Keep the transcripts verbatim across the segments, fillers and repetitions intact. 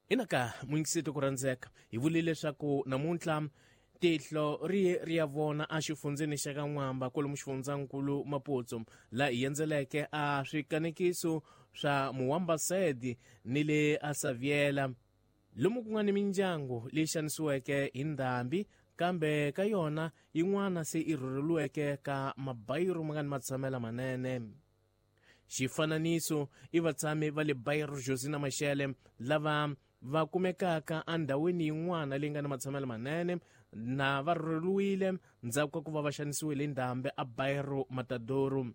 Inaka mwingisito ku rhandzeka hi vule leswaku namuntlha tihlo ri ye ri ya vona a xifundzeni xa ka N'wamba kwalomu xifundzankulu Maputo laha hi endzeleke a swikanekiso swa Muwambasedi ni le a Saviela lomu ku nga ni mindyangu leyi xanisiweke hi ndhambi kambe ka yona yin'wana se i rhurheliweke ka mabayiro ma nga ni matshamela manene. Xifananiso i vatshami va le Bairro Josina Machel lava va kumekaka endhawini yin'wana leyi nga ni matshamelo manene na va rhurheliwile ndzhaku ka ku va va xanisiwile hi ndhambi a Bairro Matadouro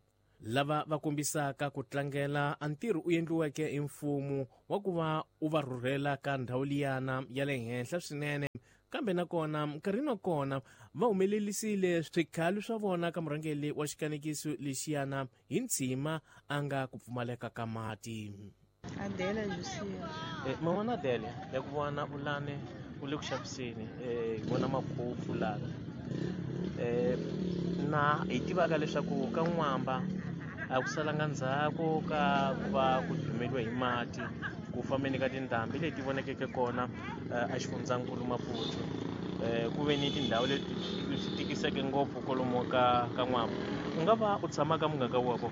lava va kombisaka ku tlangela a ntirho u endliweke hi mfumo wa ku va u va rhurhela ka ndhawu liyana ya le henhla swinene kambe nakona nkarhini wa kona va humelelisile swikhalo swa vona ka murhangeri wa xikanekiso lexiyana hi ntshima a nga ku pfumaleka ka mati. Adela Josia. Eh, man'wana Adele ya ku vona ulane u le ku xaviseni eh, hi vona makhofu lana eh, na hi tivaka leswaku ka N'wamba a ku salanga ndzhaku ka ku va ku dumeliwe hi mati ku fambeni ka tindhambi leti vonakeke kona eh, a xifundzankulu Maputo eh, ku ve ni tindhawu leti swi tikiseke ngopfu kwalomu ka ka N'wamba. U nga va u tshama ka muganga wa ko?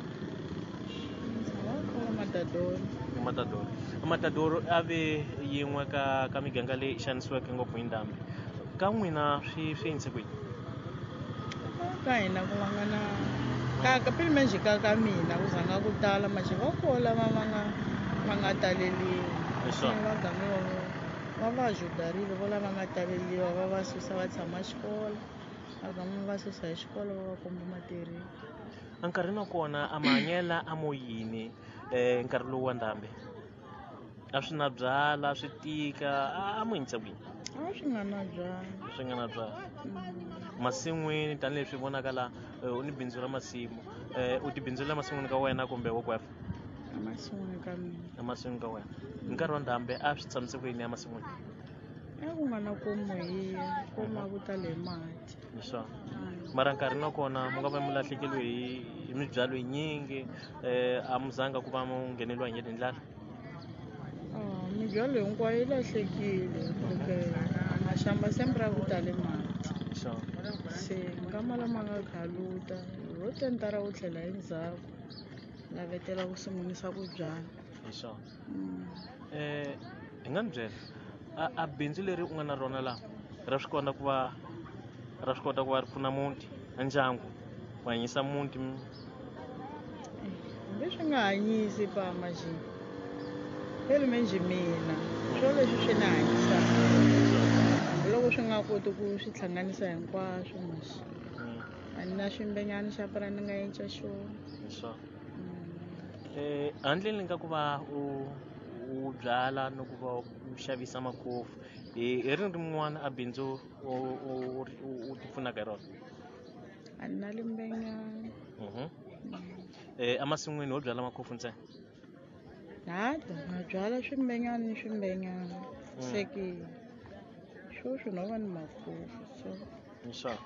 Matadoro. Matadoro. Matadoro a ve yin'we ka ka miganga leyi xanisiweke ngopfu hi ndhambi. Ka n'wina swi swi endlise ku yini? Ka hina ku va nga na ka ka pele manjhe ka ka mina ku zanga ku tala manjhe va koho lava va nga va nga taleliwa. Leswaku? Va game va va va ajudarile vo lava nga taleliwa va va susa va tshama xikolo. Va game va susa hi xikolo va va komba matirhelo. Enkarhini wa kona a mahanyela a mo yini eh, nkarhi lowu wa ndhambi? A swi na byala swi tika a mo yinisa kwini? A swi nga na byala. Swi nga na byala. Masin'wini tanihileswi vonaka la u ni bindzu ra masimu eh, u ti bindzulela masin'wini ka wena kumbe wo kwefa? Emasin'wini ka mina. Emasin'wini ka wena. Hi nkarhi wa ndhambi a swi tshamise ku yini emasin'wini? A ku nga na komu hi komu a ku tale hi mati. Leswaku. Mara nkarhi wa kona mu nga va mu lahlekeriwe hi hi mibyalo yinyingi eh, a mu zanga ku va mu ngheneliwa hi ndlala? Ah, mibyalo hinkwayo yi lahlekile porque maxamba sempre a ku tale mati. Sure. Se nkama lama nga khaluta ho tentara wu tlhela endzhaku lavetela ku sungurisa ku byala. Hi swona. Mm. Eh, hi nga ni byela a, a bindzu leri u nga na rona laha ra swi kota ku va ra swi kota ku va ri pfuna muti a ndyangu ku hanyisa muti? Hambi swi nga hanyisi pa manjhe phela manjhe mina swo leswi swi ni hanyisaka hambiloko swi nga koti ku swi hlanganisa hinkwaswo manjhe a ni na ximbenyana xa pura ni nga endla xona. Hi swona. Eh, handleni ka ku va u u byala no ku va u xavisa makhofu hi hi rini rin'wana a bindzu u u u ti pfunaka hi rona? A ni na limbenyana. Mhm. Eh, emasin'wini ho byala makhofu ntsena? Nada, na byala swimbenyana ni swimbenyana. Se ke sweswi no va ni makhofu so. Hi swona.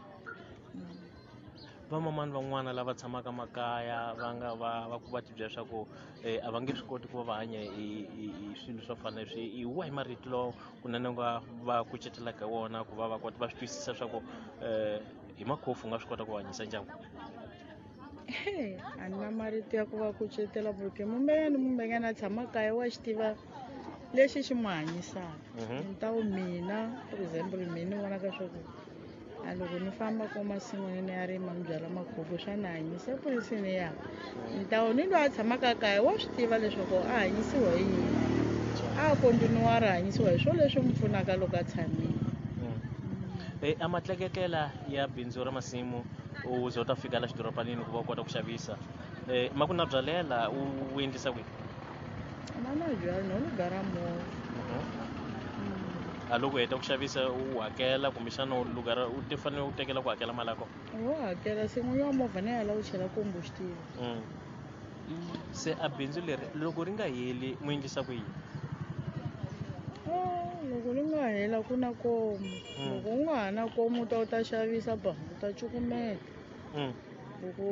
Vamamani van'wana lava tshamaka makaya va nga va va ku va ti byela leswaku eh, a va nge swi koti ku va va hanya hi hi hi swilo swo fana na leswi, hi wahi marito lawa kunene u nga va kucetelaka hi wona ku va va kota va swi twisisa leswaku eh, hi makhofu u nga swi kota ku hanyisa ndyangu? A ni na marito ya ku va kucetela porque mumbenyana mumbenyana a tshama kaya wa xi tiva lexi xi n'wi hanyisaka. Mhm. Ni ta wu mina for example mina ni vonaka swa ku a loko ni famba ko masin'wini ni ya rima ni byala makhofu swa ni hanyisa epolisini ya ni ta wu ni loyi a tshamaka kaya wa swi tiva leswaku a hanyisiwa hi yini a kontinuwara a hanyisiwa hi swona leswi n'wi pfunaka loko a tshamile. Eh, a matleketlela ya bindzu ra masimu u ze u ta fika la xidorobanini ku va u kota ku xavisa eh, ma ku na byalela u u endlisa kwihi? Ma na byala no lu ra movha. A loko u heta ku xavisa u hakela kumbexana u lugara u ti fanele u tekela ku hakela mali ya kona? Wo hakela se n'winyi wa movha na yena u chela combustible. Mm. Se a bindzu leri loko ri nga heli mu endlisa ku yini? Ah, loko ri nga hela ku na komu. Mm. Loko u nga ha na komu u ta u ta xavisa ba u ta cukumeta. Mm. Loko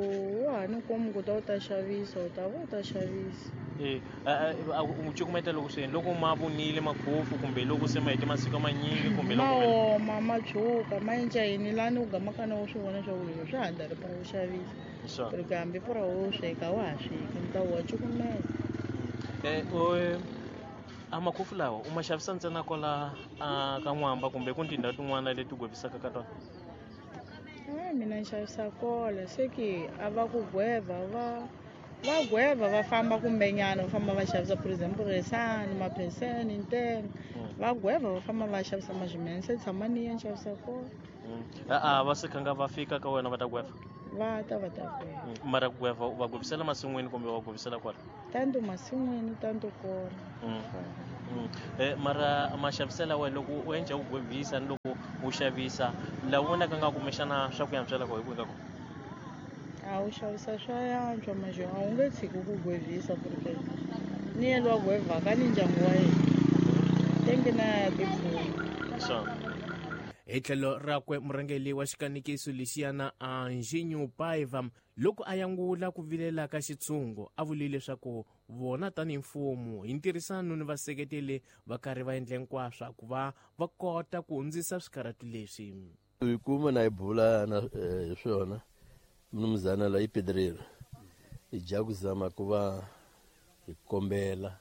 wa ha ni komu ku ta u ta xavisa u ta va u ta xavisa. Eh u cukumeta loko swi loko ma vunile makhofu kumbe loko se ma hete masiku manyingi kumbe loko ma oma ma tshuka ma endla yini lani u gamaka na u swi vona swa ku leswi swa handza ri para u xavisa porque hambi pura wo sweka wa ha sweki ni ta wa cukumeta. Eh a makhofu lawa u ma xavisa ntsena kwala ka N'wamba kumbe ku tindhawu tin'wana leti gwevisaka ka tona? A mina ni xavisa kola se ke a va ku gweva va va gweva va famba kumbenyana va famba va xavisa, for example resani mapheseni ntenga va gweva va famba va xavisa mazimene se tshama ni ya ni xavisa kola. A va se khanga va fika ka wena va ta gweva? Va ta va ta gweva. Mara ku gweva va gwevisela masin'wini kumbe va gwevisela kwala? Tanto masin'wini tanto kola. Eh mara maxaviselo wa loko u endla u gwevisa ni loko u xavisa la vonaka nga kumbexana swa ku yantswela ko hi ku ka ku a wu xavisa swa yantswa manje a wu nge tshiki ku gwevisa porque ni yena wa gwevaka ni ndyangu wa yena tenge na ya tipfuna. Hi tlhelo rakwe murhangeri wa xikanikiso lexiyana Anjinho Paiva loko a yangula ku vilela ka xitshungu a vule leswaku vona tanihi mfumo hi ntirhisano ni vaseketeli va karhi va endla hinkwaswo ku va va kota ku hundzisa swikarhatu leswi. Hi kuma na hi bula na hi swona mnumzana la ipedrero hi dya ku zama ku va hi kombela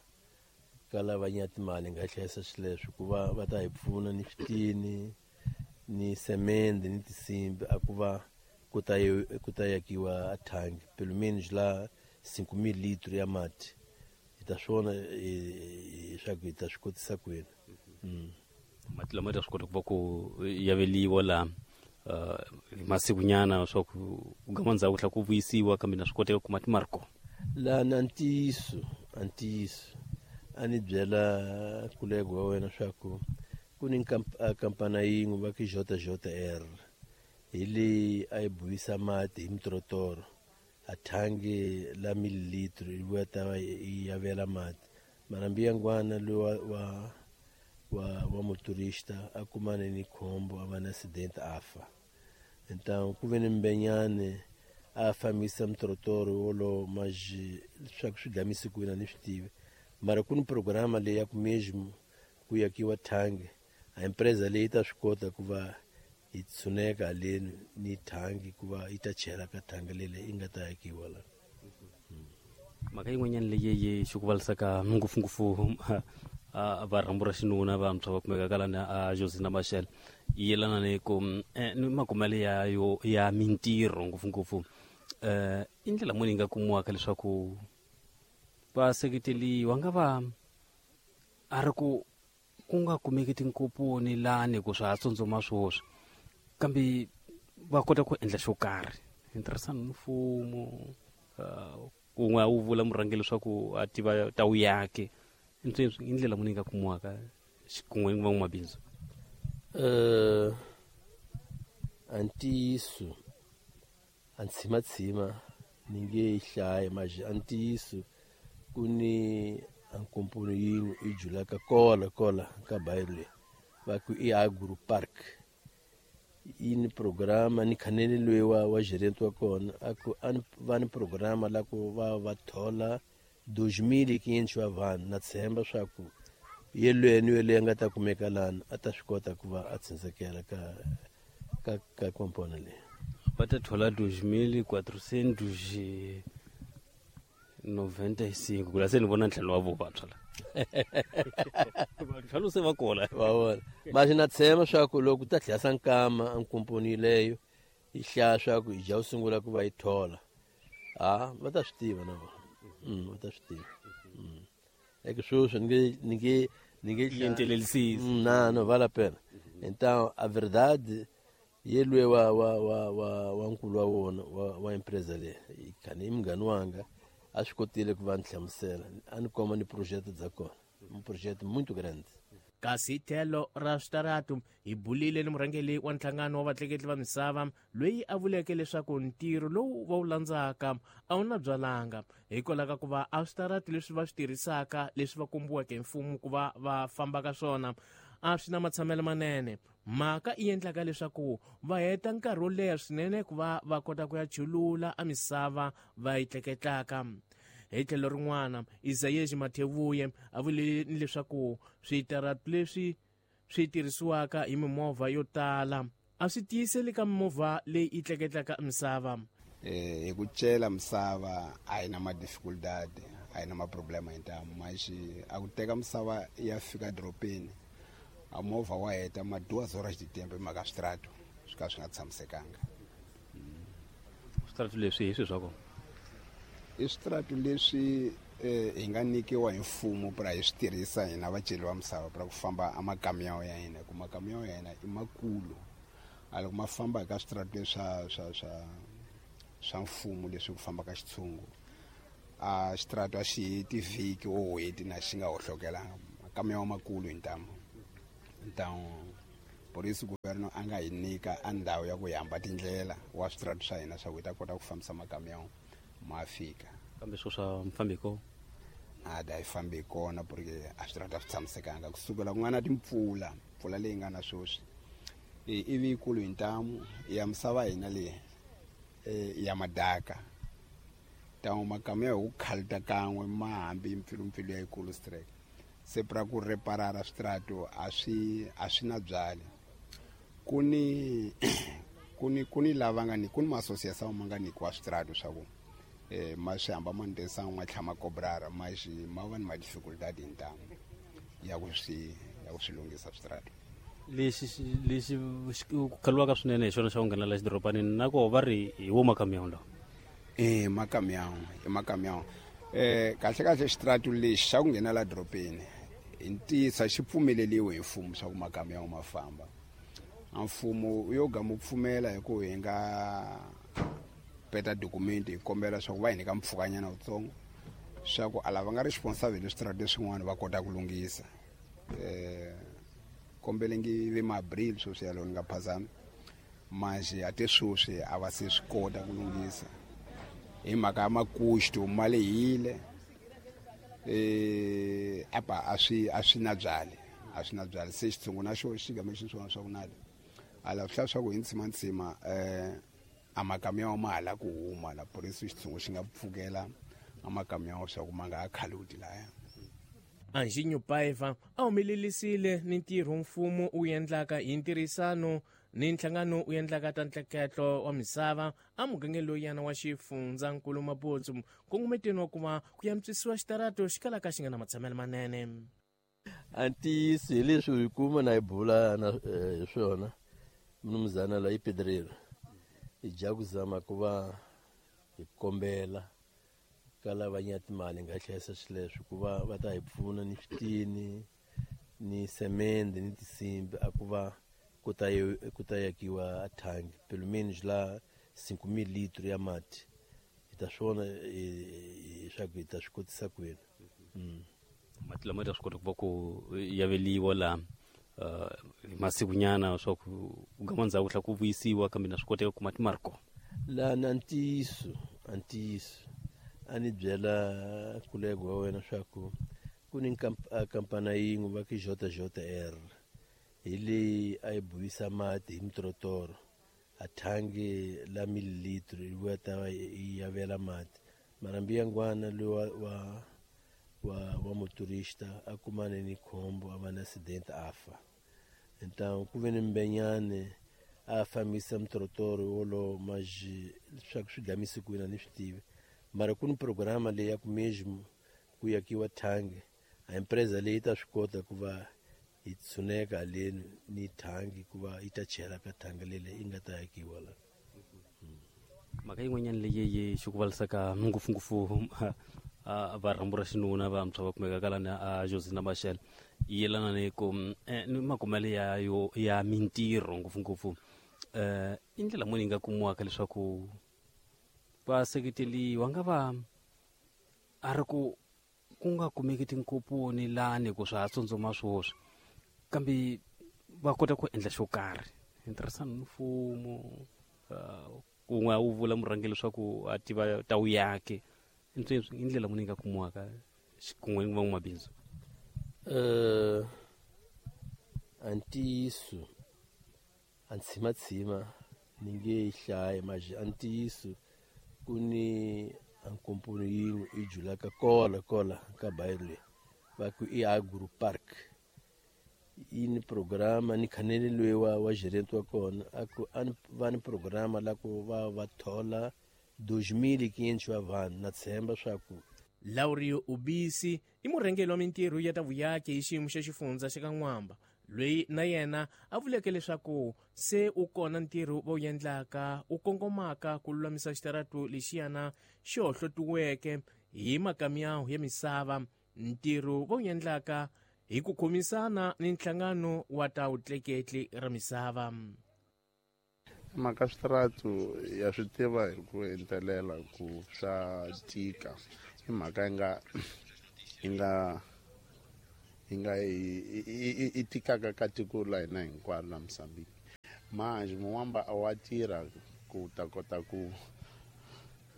ka lava nya timali nga hlayisa swileswi ku va va ta hi pfuna ni switini ni semende ni tinsimbi a ku va ku ta ku ta yakiwa a thangi pelo menos la cinco mil litros ya mati hi ta swona leswaku hi ta swi kotisa kwini. Mati lama ta swi kota ku va ku yaveliwa la masikunyana swa ku gama ndzhaku tlhela ku vuyisiwa kambe na swi koteka ku mati ma ri kona la na ntiyiso a ntiyiso a ni byela kulego wa wena swa ku ku ni kampani yin'we va ku J J R hi leyi a yi buyisa mati hi mitorotoro a thangi la mililitro yi vuya ta va yi yavela mati mara mbiyangwana loyi wa wa wa wa motorista a kumane ni khombo a va na accident a fa. Então ku ve ni mbenyane a fambisa mitorotoro wolowo mas leswaku swi gamise kwini a ni swi tivi mara ku ni programa leyi ya ku mesmo ku yakiwa thangi a empresa leyi ta swi kota ku va yi tshuneka haleni ni thangi ku va yi ta chela ka thangi leyi yi nga ta yakiwa la. Mhaka yin'wanyana leyi yi xikuvalisaka ngopfungopfu va rhambu ra xinuna vantshwa va kumeka kalani a Josina Machel yi yelana ni ku ni makumelo ya yo ya mintirho ngopfungopfu um i ndlela muni yi nga kumiwaka leswaku va seketeliwa nga va a ri ku ku nga kumeki tinkoponi lani ku swa ha tsundzuma swoswi kambe va kota ku endla xo karhi hi ntirhisano ni mfumo kun'we a wu vula murhangeri leswaku a tiva ta wu yake i ndlela muni yi nga kumiwaka xikun'we ni van'wamabindzu? Uh, a ntiyiso a ntshimatshima ni nge yi hlayi mas a ntiyiso ku ni a nkomponi yin'we yi julaka kola kola ka bayiro leyi va ku i Agro Park yi ni programa ni khanele loyi wa wa gerente wa kona a ku a va ni programa la ku va va thola dois mil e quinhentos wa vanhu na tshemba swa ku yelweni yeleyo a nga ta kumeka lana a ta swi kota ku va a tshunxekela ka ka ka komponi leyi. Va ta thola dois mil quatrocentos noventa e cinco ku la se ni vona ntlhanu wa vo vantshwa la ntlhanu se va kola va vona masi na tshemba swa ku loko ta tlhela nkama a nkomponi leyo yi hlaya swa ku hi dya u sungula ku va yi thola a va ta swi tiva na vona va ta swi tiva é que sweswi ni nge ni nge ni nge yentelelisisi na no vale a pena. Então a verdade yelwe wa wa wa wa wa nkulu wa wona wa wa empresa leyi khani i munghana wanga a swi kotile ku va ni hlamusela a ni komba ni project bya kona um projeto muito grande. Kasi tlhelo ra switaratu hi bulile ni murhangeri wa nhlangano wa vatleketli va misava loyi a vuleke leswaku ntirho lowu va wu landzaka a wu na byalanga hikwalaho ka ku va a switaratu leswi va swi tirhisaka leswi va kombiweke hi mfumo ku va va famba ka swona a swi na matshamelo manene. Mhaka yi endlaka leswaku va heta nkarhi wo leha swinene ku va va kota ku ya chulula a misava va yi tleketlaka. Hi tlhelo rin'wana, Isaias Mathevuye a vule leswaku switaratu leswi swi tirhisiwaka hi mimovha yo tala a swi tiyiseli ka mimovha leyi yi tleketlaka misava. Eh hi ku cela misava a yi na ma-dificuldade, a yi na ma-problema hintamu, mas a ku teka misava ya fika dorobeni a movha wa heta ma duas horas de tempo hi mhaka switrato swi ka swi nga tshamisekanga. Switrato leswi hi swi swa kona i switrato leswi hi nga nyikiwa hi mfumo pra hi swi tirhisa hina vaceli va misava pra ku famba a makamiyawu ya hina, ku makamiyawu ya hina i makulu, a loko ma famba ka switrato leswi swa swa swa swa mfumo leswi ku famba ka xitshungu a xitrato a xi heti vhiki o hweti na xi nga hohlokelanga, makamiyawu makulu hi ntamu. Então por isso governo a nga hi nyika a ndhawu ya ku hamba tindlela wa switrato swa hina swa ku hi ta kota ku fambisa makamiyawu ma fika. Kambe swo swa mfambiko nada hi fambi kona porque a switrato a swi tshamisekanga kusukela ku nga na timpfula, mpfula leyi nga na sweswi ivi yikulu hi ntamu ya misava hina leyi ya madaka, então makamiyawu hi ku khalita kan'we ma hambi mpfilumpfilu ya yikulu strike, se pra ku reparara switrato a swi a swi na byali. Ku ni ku ni ku ni lava nga ni ku ni ma-association ma nga nyikiwa switrato swa ku eh ma swi hamba ma ndesa ma tlhela ma kobrara, mas ma va ni ma-dificuldade hi ntamu ya ku swi ya ku swi lunghisa switrato. Lexi lexi ku khaliwaka swinene hi xona xa ku nghenela xidorobanini na koho va ri hi wo makamiyawu lawa. Eh makamiyawu i makamiyawu. Eh kahle kahle xitrato lexi xa ku nghenela dorobeni hi ntiyiso xi pfumeleliwe hi mfumo swa ku makamiyawu ma famba. A mfumo yo gama pfumela hi ku hi nga peta document hi kombela swa ku va hi nyika mpfhukanyana wutsongo swa ku a lava nga responsible hi switrato leswin'wana va kota ku lunghisa. Eh kombele ngi ve ma-abril sweswi yalowo ni nga phazami, mas a te sweswi a va se swi kota ku lunghisa hi mhaka ya makuxto ma lehile, eh apa a swi a swi na byali a swi na byali, se xitshungu na xo xi game xi swona swa ku nada a la swi swa ku hi ntsima ntsima eh a makamiyawu ma hala ku huma la, por isso xitshungu xi nga pfukela a makamiyawu swa ku ma nga ha khaluti laya. Anjinho Paiva a humelelisile ni ntirho mfumo wu endlaka hi ntirhisano ni nhlangano wu endlaka ta ntleketlo wa misava a mugangeni loyana wa xifundzankulu Mabotso, nkongometweni wa ku va ku antswisiwa xitarato xi kalaka xi nga na matshamelo manene. A ntiyiso hi leswi hi kuma na hi bula na hi swona mnumzana la i pedreiro hi dya ku zama ku va hi kombela ka lava nya timali nga hlayisa swileswi ku va va ta hi pfuna ni switini ni semende ni tinsimbi a ku va ku ta ku ta yakiwa thangi pelo menos la cinco mil litros ya mati hi ta swona leswaku hi ta swi kotisa kwini. Mati lama ta swi kota ku va ku yaveliwa laha hi masikunyana swa ku gama ndzhaku tlhela ku vuyisiwa, kambe na swi koteka ku kuma timali kona laha na ntiyiso a ntiyiso a ni byela kulego wa wena swa ku ku ni kampana yin'we va ku J J R hi leyi a yi buyisa mati hi mitorotoro a thangi la mililitro yi vuya ta yi yavela mati, mara mbiyangwana loyi wa wa wa wa motorista a kumane ni khombo a va na accident a fa. Então ku ve ni mbenyane a fambisa mitorotoro wolowo mas leswaku swi gamise kwini a ni swi tivi, mara ku ni programa leyi ya ku mesmo ku yakiwa thangi a empresa leyi ta swi kota ku va yi tshuneka haleni ni thangi ku va yi ta chela ka thangi leyi yi nga ta yakiwa la. Mhaka yin'wanyana leyi yi xi ku valisaka ngopfungopfu va rhambu ra xinuna vantshwa va kumekaka lani a Josina Machel yi yelana ni ku ni makumelo ya yo ya mintirho ngopfungopfu um i ndlela muni yi nga kumiwaka leswaku va seketeliwa nga va a ri ku ku nga kumeki tinkoponi lani ku swa ha tsundzuma swoswi kambe va kota ku endla xo karhi hi ntirhisano ni mfumo kun'we wu vula murhangeri leswaku a tiva ta wu yake i ndlela muni yi nga kumiwaka xikun'we ni van'wamabindzu? Uh, a ntiyiso a ntshimatshima ni nge yi hlayi mas a ntiyiso ku ni A nkomponi yin'we i julaka kola kola ka bayiro leyi va ku i Agro Park. Yi ni programa ni khanele loyi wa wa gerente wa kona a ku a ni va ni programa la ku va va thola dois mil e quinhentos wa vanhu na tshemba swa ku. Laurio Ubisi i murhangeri wa mintirho ya ta vuyaki hi xiyimo xa xifundza xa ka N'wamba, loyi na yena a vuleke leswaku se u kona ntirho va wu endlaka wu kongomaka ku lulamisa xitaratu lexiyana xi hohlotiweke hi makamiyawu ya misava. Ntirho va wu endlaka hi ku khomisana ni nhlangano wa ta vutleketli ra misava. Mhaka switaratu ya swi tiva hi ku entelela ku swa tika i mhaka yi nga yi nga yi nga i tikaka ka tiko la hina hinkwaro la Mozambique. Manjhe Muwamba a wa tirha ku ta kota ku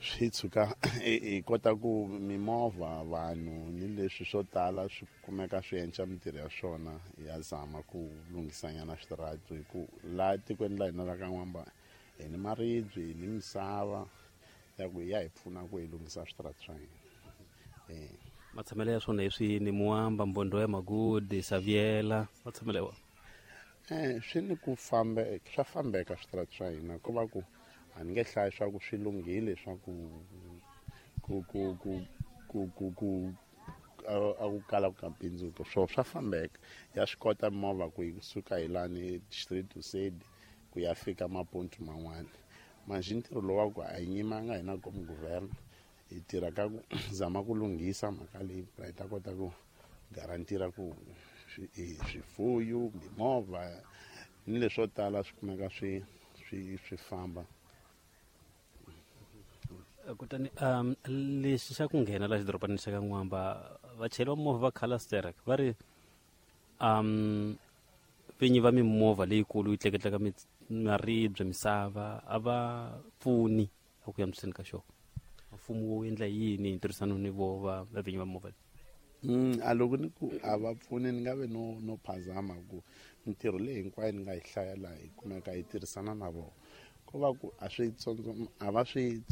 swi tshuka hi kota ku mimovha vanhu ni leswi swo tala swi kumeka swi endla mintirho ya swona ya zama ku lunghisanyana switaratu hi ku laha tikweni la hina la ka N'wamba hi ni maribye hi ni misava ya ku ya hi pfuna ku hi lunghisa switaratu swa hina. Eh matshamelo ya swona hi swini? Muwamba, Mbondo ya Magudi, Saviela, matshamelo ya wona? Eh swi ni ku fambe swa fambeka switaratu swa hina ko va ku a ni nge hlayi swa ku swi lunghile swa ku ku ku ku ku ku ku a ku kala ku ka bindzuko swo swa fambeka ya swi kota movha ku yi suka hi lani Distrito Sede ku ya fika mapontu man'wana. Manjhe ntirho lowu wa ku a hi nyimanga hina komu guvernor hi tirha ka ku zama ku lunghisa mhaka leyi hi ta kota ku garantira ku swifuyo mimovha ni leswo tala swi kumeka swi swi swi famba. Kutani um lexi xa ku nghena la xidorobanini xa ka N'wamba vachayeri va movha va Calasterek va ri um vinyi va mimovha leyikulu yi tleketlaka maribye misava a va pfuni eku yamiseni ka xona. Mfumo wu endla yini hi ntirhisano ni vo va vinyi va movha? Mm a loko ni ku a va pfuni ni nga ve no no phazama ku mintirho leyi hinkwayo ni nga yi hlaya laha hi kumeka hi tirhisana na vona. Ko va ku a swi tsondzo a va swi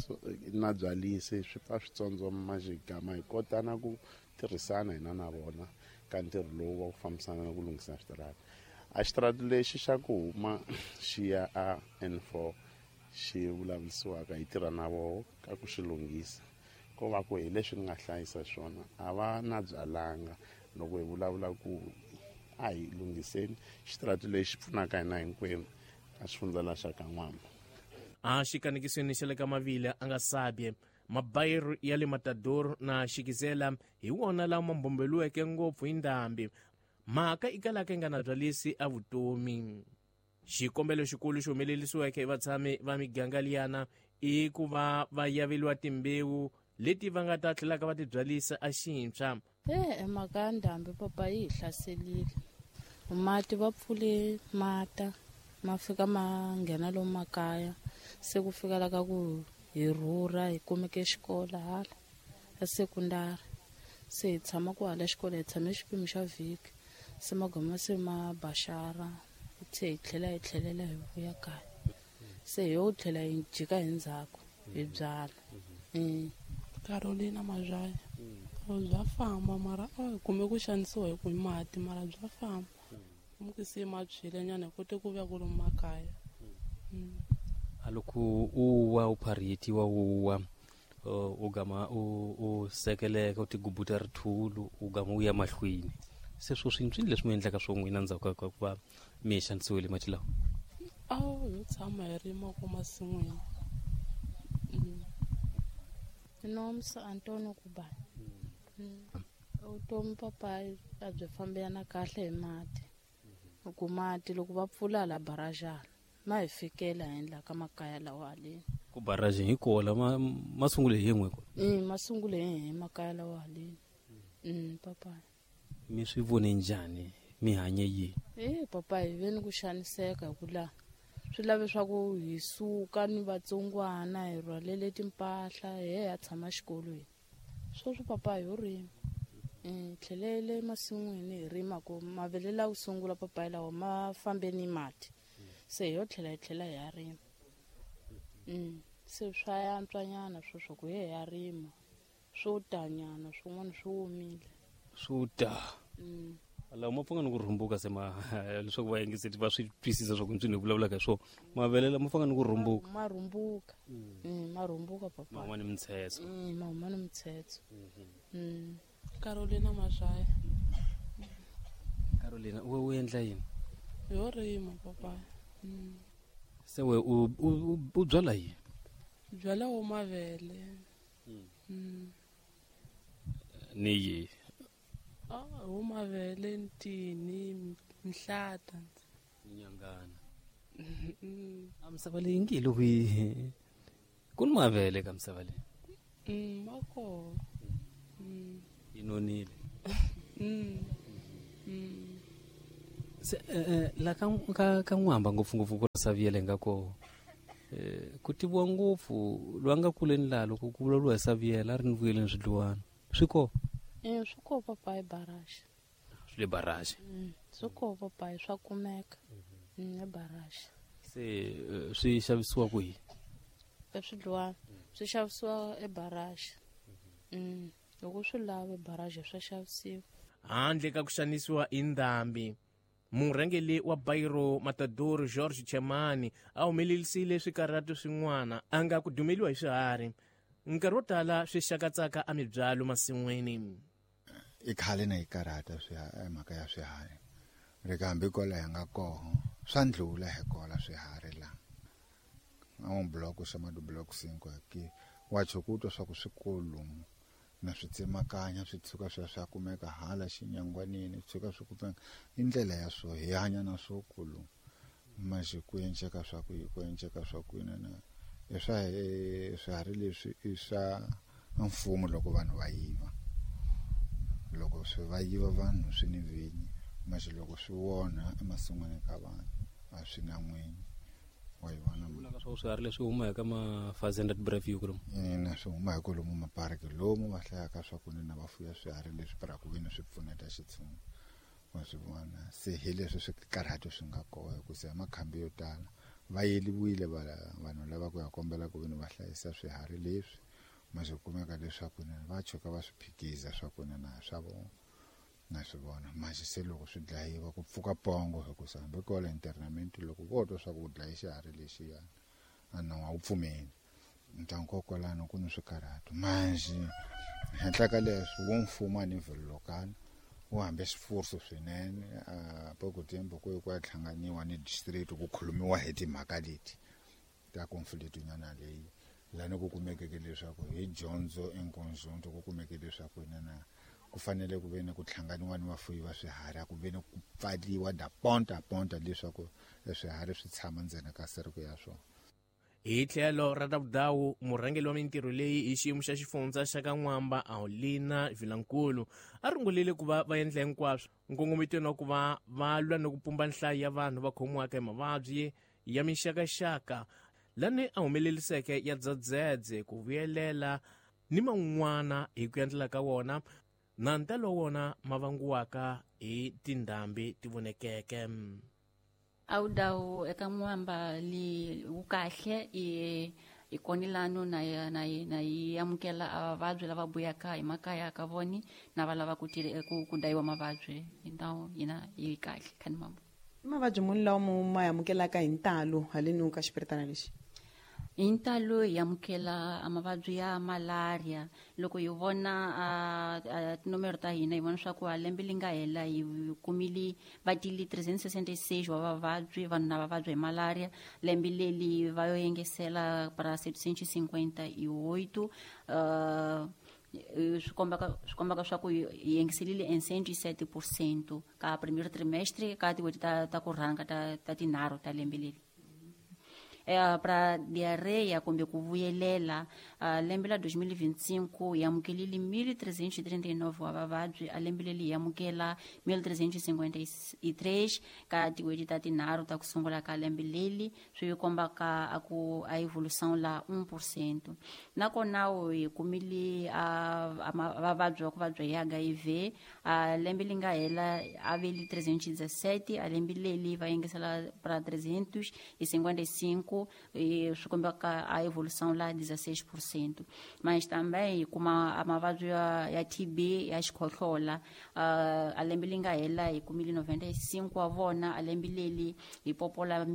na byalisi swi pfa swi tsondzoma xigama hi kota na ku tirhisana hina na vona ka ntirho lowu wa ku fambisana na ku lunghisa switarata. A xitarata lexi xa ku huma xi ya a N four xi vulavurisiwaka hi tirha na voho ka ku xi lunghisa. Ko va ku hi leswi ni nga hlayisa swona a va na byalanga loko hi vulavula ku a hi lunghiseni xitarata lexi pfunaka hina hinkwenu ka xifundza xa ka N'wamba. A xikanekisweni xa le ka Mavila a nga sabye mabayiro ya le Matador na Xikizela hi wona lama mbombeliweke ngopfu hi ndhambi. Mhaka i kalaka yi nga na byalisi a vutomi. Xikombelo xikulu xi humelerisiweke hi vatshami va miganga liyana i ku va va yaveliwa timbewu leti va nga ta tlhelaka va ti byalisa a xintshwa. E mhaka ya ndhambi papa yi hi hlaselile. Mati va pfule mata ma fika ma nghena lomu makaya se ku fika la ka ku hi rhurha hi kumeke xikolo hala ya sekundari se hi tshama ku hala xikolo hi tshame xipimo xa vhiki se magoma se ma baxara se hi tlhela hi tlhelela hi vuya kaya se hi yo tlhela hi jika hi ndzhaku hi byala. Carolina Mazhaya bya famba mara a hi kume ku xanisiwa hi ku mati mara bya famba mukisi ma tshwile nyana hi kote ku vuya kwalomu makaya. A loko u wa u pharhetiwa u wa u gama u u sekeleka u tigubuta rithulu u gama u ya mahlweni se swo swi nswini leswi mi endlaka swo n'wina ndzhaku ka ku va mi xanisiwile mati lawa? A ho tshama hi rima ko masin'wini. Nomsa Antonio Kubani. Vutomi papa a byi fambelana kahle hi mati. Ku mati loko va pfula la barajana ma hi fikela endla ka makaya lawa haleni. Ku barajeni hi kola ma ma sungule hi yin'we kona? Mm ma sungule hi makaya lawa haleni. Mm papa. Mi swi vone njhani mi hanye yini? Eh papa hi ve ni ku xaniseka hi ku la swi lave swa ku hi suka ni vatsongwana hi rhwalele timpahla hi ya tshama xikolweni. Sweswi papa hi yo rima. Hi tlhelele masin'wini hi rima ku mavele lawa ku sungula papa lawa ma fambe ni mati se hi yo tlhela hi tlhela hi ya rima. Mm Se swa yantswanyana sweswo ku ye ya rima. Swo tanyana swin'wana swi omile. Swo ta. Mm. Lawa ma pfanga ni ku rhumbuka se ma leswaku va yingiseti va swi twisisa swa ku ntswini hi vulavulaka hi swona. Mavele lama pfanga ni ku rhumbuka. Ma rhumbuka. Mm, ma rhumbuka papa. Ma huma ni mitshetso. Mm, ma huma ni mitshetso. Mm. Carolina Mazhaya. Carolina, we u endla yini? Yo rima papa. Mm. Se we u u u byala yini? Byala wo mavele. Mm. Mm. Ni yi. Ah, wo mavele ntini mhlata. Nyangana. A misava leyi ngi loko yi ku ni mavele ka misava leyi. Mm, ma kona. Mm. Yi nonile. Mm. Mm. Se eh, la ka ka ka n'wamba ngopfungopfu ku Saviele nga ko eh ku tiviwa ngopfu lwa nga kuleni laha loko ku vulavuriwa hi Saviele a ri ni vuyeleni swidluwana swi ko Eh swi ko papa hi barrage. Swi le barrage. Mm, swi ko papa swa kumeka. Mm, e barrage. Se swi xavisiwa kwihi? Eswidluwana swi xavisiwa e barrage. Mm, loko swi lava barrage swa xavisiwa. Handle ka ku xanisiwa hi ndhambi, murhangeri wa Bairro Matador George Chemani a humelerisile swikarhato swin'wana a nga ku dumeliwa hi swiharhi. Nkarhi wo tala swi xakatsaka a mibyalo masin'wini. I khale na yi karhata swiharhi mhaka ya swiharhi. Ri kambe kwala hi nga koho swa ndlula hi kola swiharhi la. A un bloco chamado bloco cinco aqui. Wa chokutwa swa ku swikulu na swi tsemakanya swi tshuka swi swa kumeka hala xinyangwanini swi tshuka swi kumeka i ndlela ya swo hi hanya na swo kulu manje ku enceka swa ku ku enceka swa ku na i swa swiharhi leswi i swa mfumo loko vanhu va yiva loko swi va yiva vanhu swi ni vinyi manje loko swi wona emasin'wini ka vanhu a swi na n'winyi wa yi vona vulaka swa swiharhi leswi huma eka ma-Fazenda Breview kulomu ina swi huma hi kwalomu mapariki lomu va hlayaka swa ku na va fuya swiharhi leswi para ku veni swi pfuneta xitshungu wa swi vona se hi leswi swikarhato swi nga kona hikusa hi makhambi yo tala va yeliwile vanhu lava ku ya kombela ku veni va hlayisa swiharhi leswi ma swi kumeka leswaku va tshuka va swi phikiza swa ku na swa vona na swi vona manje se loko swi dlayiwa ku pfuka pongo hikusa hambi kwala internament loko vo twa swa ku dlayi xiharhi lexiyana a nawu a wu pfumeli ntangu kwalano ku ni swikarhato manje henhla ka leswi wo mfumo a nivel local wu hambe swifuso swinene a pouco tempo ku ku ya hlanganiwa ni district ku khulumiwa hi timhaka leti ta conflict nyana leyi lani ku kumekeke leswaku hi dyondzo enkonzonto ku kumeke leswaku na ku fanele ku ve ni ku hlanganiwa ni vafuyi va swiharhi a ku ve ni ku pfaliwa da ponta ponta leswaku swiharhi swi tshama ndzeni ka sereko ya swona. Hi tlhelo ra Tavudawu, murhangeri wa mintirho leyi hi xiyimo xa xifundza xa ka N'wamba Aulina Vilankulu a rungulile ku va va endla hinkwaswo nkongometweni wa ku va va lwa ni ku pumba nhlayo ya vanhu va khomiwaka hi mavabyi ya mixakaxaka lani a humeleriseke ya dzedzedze ku vuyelela ni man'wana hi ku endlela ka wona na ntalo wona ma vangiwaka hi tindhambi ti vonekeke. Awudawu eka N'wamba li wu kahle i i konilano na na na yi amukela avavabyi lava vuyaka hi makaya ka voni na va lava ku ku ku dayiwa mavabyi hi ndhawu yina yi kahle khani mambo. I mavabyi muni lawa mu ma amukelaka hi ntalo haleni ka xipiritana lexi? Hi ntalo hi amukela mavabyi ya malaria loko hi vona a tinomero ta hina hi vona swa ku a lembe li nga hela hi kumile va tili three hundred sixty-six wa vavabyi vanhu na vavabyi hi malaria lembe leli va yo engesela para setecentos e cinquenta e oito uh, swi kombaka swi kombaka swa ku hi engeselile em cento e sete por cento ka primeiro trimestre ka tin'hweti ta ta ku rhanga ta ta tinharhu ta lembe leri. Eh, para diarreia kumbe ku vuyelela uh, lembe la dois mil e vinte e cinco hi amukelile mil trezentos e trinta e nove wa vavabyi a lembe leri hi amukela mil trezentos e cinquenta e três ka tin'hweti ta tinharhu ta ku sungula ka lembe leri swi kombaka a ku a evolução la um por cento nakona hi kumile a vavabyi va ku vabya hi H I V a lembe li nga hela a veli trezentos e dezessete a lembe leri va yengesela para trezentos e cinquenta e cinco cinco e swi kombaka a evolução lá dezesseis por cento. Mas também hi kuma a mavabyi ya, ya T B ya xikhohlola, uh, a lembe li nga hela hi kumile noventa e cinco wa vona, a lembe leli hi popola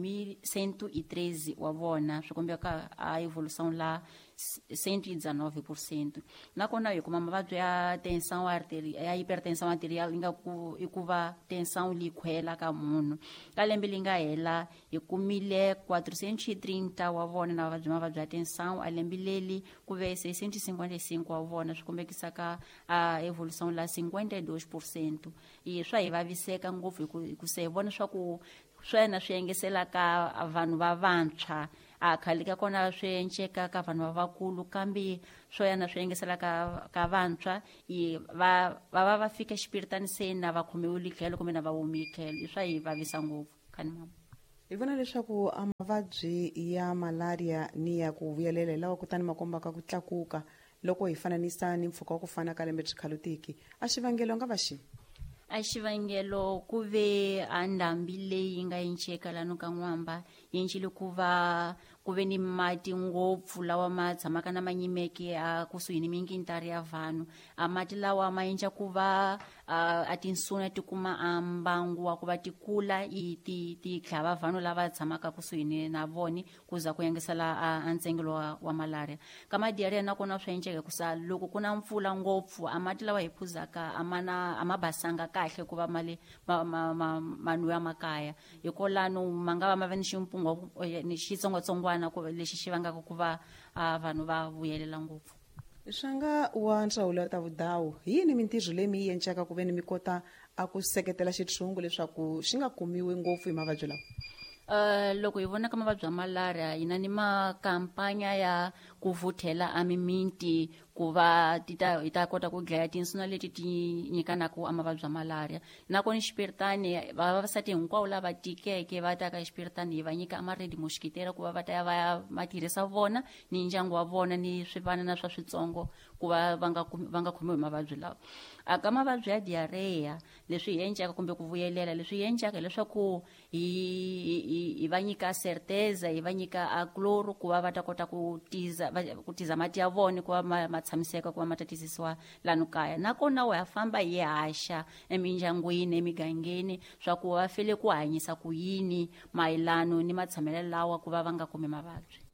cento e treze wa vona, swi kombaka a evolução lá cento e dezenove por cento. Nakona hi kuma mavabyi ya tensão arterial, ya hipertensão arterial yi nga ku i ku va tensão li khwela ka munhu. Ka lembe li nga hela hi kumile quatrocentos e trinta wa vona na mavabyi mavabyi ya tensão, a lembe leli ku ve seiscentos e cinquenta e cinco wa vona, swi kombekisaka a evolução la cinquenta e dois por cento. E swa hi vaviseka ngopfu hi ku hi ku se hi vona swa ku swena swi engeselaka vanhu va vantshwa, a khale ka kona swi enceka ka vanhu va vakulu, kambe swo yana swi engesela ka ka vantshwa i va va va va fika xipiritani se na va khomiwile tlhelo kumbe na va humile tlhelo, i swa hi vavisa ngopfu khani mama. Hi vona leswaku a mavabyi ya malaria ni ya ku vuyelela hi lawa kutani ma kombaka ku tlakuka loko hi fananisa ni mpfhuka wa ku fana ka lembe xikhalotiki, a xivangelo nga va xi A xivangelo ku ve a ndhambi leyi nga enceka lano ka N'wamba yi encile ku va ku ve ni mati ngopfu lawa ma tshamaka na ma nyimeke a kusuhi ni minkintari ya vanhu. A mati lawa ma endla ku va a tinsuna ti kuma a mbangu wa ku va ti kula i ti ti tlhava vanhu lava tshamaka kusuhi ni na voni ku za ku yengesela a ntsengelo wa, wa malaria. Ka madiarrhea nakona swa enceka ku sa loko ku na mpfula ngopfu a mati lawa hi phuzaka a ma na a ma basanga kahle ku va mali ma ma ma ma nwiwa makaya, hikolano ma nga va ma va ni ximpungo ni xitsongwatsongwana ku lexi xi vangaka ku va vanhu va vuyelela ngopfu. Swanga wa ndzawulo ta vudawu, hi yini mintirho leyi mi yi encaka ku ve ni mi kota a ku seketela xitshungu leswaku xi nga kumiwi ngopfu hi mavabyi lawa? Uh, loko hi vona ka mavabyi ya malaria hi na ni makampanya ya ku vuthela a miminti ku va ti ta hi ta kota ku dlaya tinsuna leti ti nyikanaka a mavabyi ya malaria. Nakona xipiritani vavasati hinkwavo lava tikeke va ta ka xipiritani hi va nyika a ma-red mosquitera ku va va ta ya va ya ma tirhisa vona ni ndyangu wa vona ni swivanana swa switsongo ku va va nga va nga khomiwi hi mavabyi lawa. A ka mavabyi ya diarrhea leswi hi encaka kumbe ku vuyelela leswi hi encaka hileswaku hi hi va nyika certeza, hi va nyika a chloro ku va va ta kota ku tiza ku tiza mati ya vona ku va ma, ma tshamiseka ku va ma ta tizisiwa lano kaya. Nakona wa famba hi haxa emindyangwini emigangeni swa ku va fele ku hanyisa ku yini mayelano ni matshamelo lawa ku va va nga kumi mavabyi.